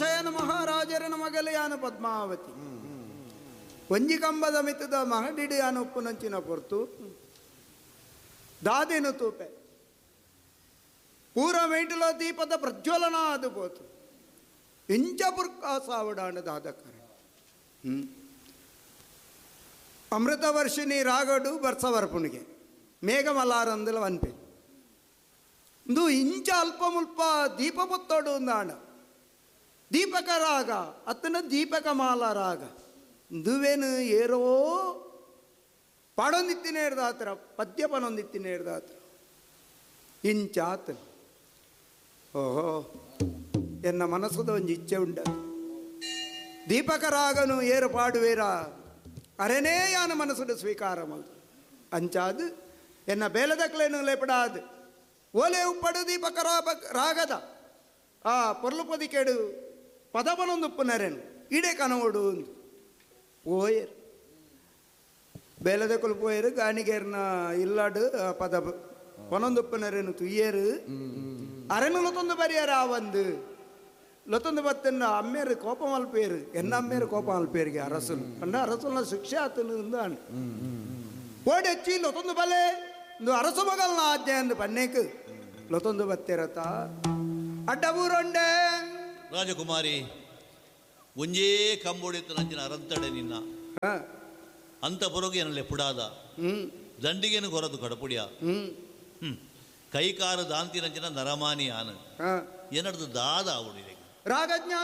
ಶಯನ ಮಹಾರಾಜರನ ಮಗಲೆಯಾನ ಪದ್ಮಾವತಿ ಒಂಜಿ ಕಂಬದ ಮಿತ್ತದ ಮಹಡಿಡಿಯಾನ ಉಪ್ಪುನಂಚಿನ ಪೊರ್ತು ದಾದೇನು ತೂಪೆ ಪೂರ ಮೇಟಲ ದೀಪದ ಪ್ರಜ್ವಲನ ಅದು ಪೋತು ಇಂಚ ಪುರ್ಕ ಸಾವಡಾಣ ದಾದಕರ ಅಮೃತವರ್ಷಿಣಿ ರಾಗಡು ಬರ್ಸವರ್ಪುಣಿಗೆ ಮೇಘಮಲಾರಂದಲ ವನ್ಪೆ ಇಂದು ಇಂಚ ಅಲ್ಪ ಮುಲ್ಪ ದೀಪ ಪುತ್ತೋಡು ಅಂದಾಣ ದೀಪಕ ರಾಗ ಅತ್ತನ ದೀಪಕ ಮಾಲ ರಾಗ ಇಂದುವೇನು ಏರೋ ಪಾಡೊಂದಿತ್ತಿನೇರ್ದಾತ್ರ ಪದ್ಯ ಪನೊಂದಿತ್ತಿನೇರ್ದಾತ್ರ ಇಂಚಾತನ ಓಹೋ ಎನ್ನ ಮನಸ್ಸದ ಒಂದು ಇಚ್ಛೆ ಉಂಡ ದೀಪಕ ರಾಗನು ಏರು ಪಾಡುವೇರ ಅರೆನೇ ಯಾನ ಮನಸ್ಸುಡು ಸ್ವೀಕಾರ ಮಲ್ತು ಅಂಚಾದು ಎನ್ನ ಬೇಲದಕ್ಲೇನು ಲೇಪಡಾದು ಓಲೆ ಉಪ್ಪಡು ದೀಪಕ ರಾಗದ ಆ ಪೊರ್ಲು ಪೊದಿಕೆಡು ಪದವನೊಂದು ಉಪ್ಪುನರೆನು ಇಡೆ ಕನವಡು ಒಂದು ಪೋಯರು ಬೇಲದಕ್ಕಲು ಪೋಯರು ಗಾಣಿಗೇರ್ನ ಇಲ್ಲಾಡು ಆ ಪದ ಪನೊಂದು ಉಪ್ಪುನರೆನು ತುಯ್ಯರು ಅರೆನು ಲೊತ್ತೊಂದು ಬರಿಯರ ಆ ಒಂದು ಲೊತ್ತೊಂದು ಬತ್ತನ್ನ ಅಮ್ಮೇರು ಕೋಪ ಮಲ್ಪೇರು ಎನ್ನ ಅಮ್ಮೇರು ಕೋಪ ಮಲ್ಪೇರಿಗೆ ಅರಸುಲು ಅಂಡ ಅರಸುಲ್ನ ಶಿಕ್ಷೆ ಆತನು ಅಂದಾಣ ಓಡೆಚ್ಚಿ ಲೊತ್ತೊಂದು ಬಲೆ ಇಂದು ಅರಸು ಮಗಲ್ನ ಆಜ್ಞೆ ಅಂದು ಪನ್ನೇಕು ಲೊತ್ತೊಂದು ಬತ್ತಿರತ ಅಡ್ಡಬೂರೊಂಡೆ ರಾಜಕುಮಾರಿ ಒಂಜೇ ಕಂಬೋಡಿತ್ತು ನಂಜಿನ ಅರಂತಡೆ ನಿನ್ನ ಅಂತ ಬರೋಗೆ ಏನಲ್ಲಿ ಪುಡಾದ ದಂಡಿಗೇನು ಕೊರದು ಕಡಪುಡಿಯ ಕೈಕಾರು ದಾಂತಿ ನಂಜಿನ ನರಮಾನಿ ಆನು ಏನಡ್ದು ದಾದ ಆವುಡಿದೆ ರಾಗಜ್ಞಾನೋಡಿ.